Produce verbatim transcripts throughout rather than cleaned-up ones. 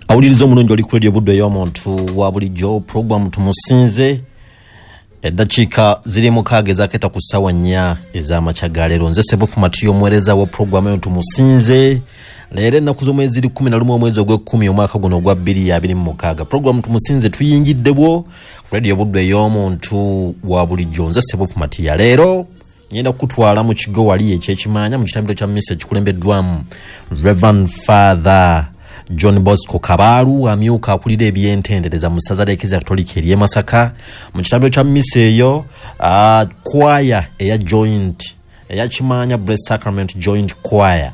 Awuliriza omulungi oli ku Radio Buddu ey'omuntu wa bulijjo, puroguramu Tumusinze. Eddakiika ziri mukaaga ezakeeta ku ssaawa nnya ez'amakya ga leero. Nze Sebufu Matiyo, omuweereza wa puroguramu eyo Tumusinze. Leero ennaku z'omwezi ziri kkumi na lumu omwezi ogw'ekkumi omwaka guno ogwa bbiri abiri mu mukaaga. Puroguramu Tumusinze tuyingiddebwo ku Radio Buddu ey'omuntu wa bulijjo. Nze Sebufu Matiya. Leero ngenda kukutwala mu kigo wali eky'Ekimanya mu kitambiro kya misa ekikulembeddwamu Reverend Father John Bosco Kabaalu, amyuka akulira ebyentendereza mu ssaza ly'Eklezia Katolika ery'e Masaka. Mu kitambiro kya misa eyo, uh, kwaya eya joint eya Kimanya Blessed Sacrament Joint Choir,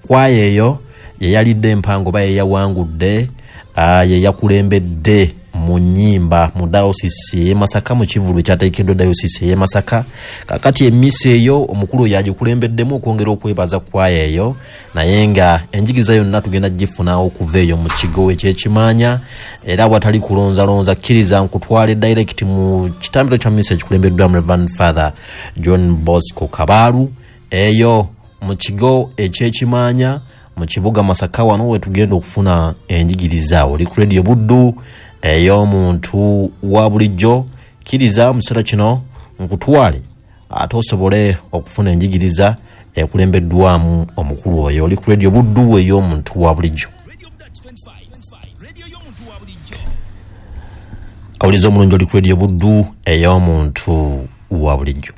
kwaya eyo yeyalidde empango oba yeyawangudde, uh, yeyakulembedde mu nnyimba mu dayosisi ey'e Masaka, mu kivvulu ekyateekeddwa dayosisi ey'e Masaka. Kakati emisa eyo omukulu oyo agikulembeddemu okwongera okwebaza kwaya eyo, naye nga enjigiriza yonna tugenda gifuna okuva eyo mu kigo eky'Ekimanya. Era watali kulonzalonza, kkiriza nkutwale direct mu kitambiro kya misa ekikulembeddwamu Reverend Father John Bosco Kabaalu eyo mu kigo eky'Ekimanya mu kibuga Masaka. Wano wetugenda okufuna enjigiriza. Oli ku Radio Buddu ey'omuntu wa bulijjo, kkiriza mu kiseera kino nkutwale ate osobole okufuna enjigiriza ekulembeddwamu omukulu oyo. Oli ku Radio Buddu ey'omuntu wa bulijjo. Awuliza omulungi oli ku Radio Buddu ey'omuntu wa bulijjo.